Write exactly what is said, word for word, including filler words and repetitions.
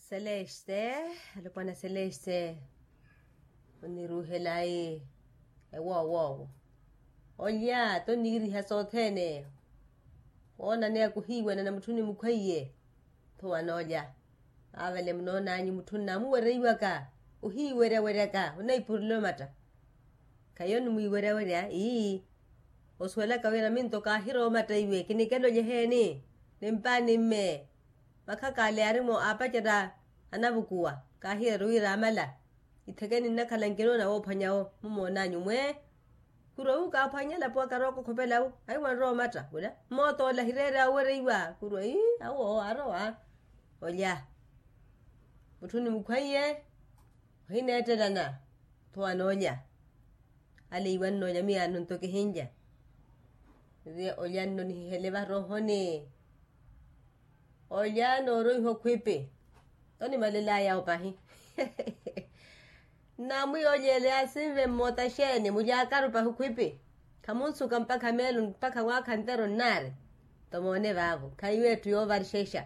Seleste, alopwana seleste, oniruuhelayi ewoowoowo. Olya tonniiriha sothene. Woonaneya kuhiiwanana mutthu nimukhweiye. Tho wanoolya. Avale munoonanyu mutthu nnamuwereiwaka, ohiiweryaweryaka onaipurila omatta. Khayo nimwiweryawerya ii. Osuwelaka wira minto kaahira omatta iwe kinikela olyeheeni. Nimpaani mme. Makhaka ale yaari-mo aapacerya anavukuwa. Kaahiyari wira amala. Ithekeni nnakhala nkinoona woophwanyawo mumoonanyu mwe. Khurwa wu kaaphwanya elapo akarooka okhopelawu. Ayi wanrowa omatta wira. Mmootoola hireerya owereiwa khurwa ii awo arowa. Olya. Mutthu nimukhweiye. Ohineettelana. Tho anoolya. Ale iwannoolya miyaano nto kihinlya. Olya nno nihihele varoohoni. Olya nooroiha okhwipi. Onimalelaya opahi. Nnamwiyolyele asinve mmoota xeeni mulyaakaru pahi okhwipi. Khamunsuka mpakha meelo mpakha mwaakha nteru nnaari. Tomoone vaavo khaiyo etthu yoovarixexa.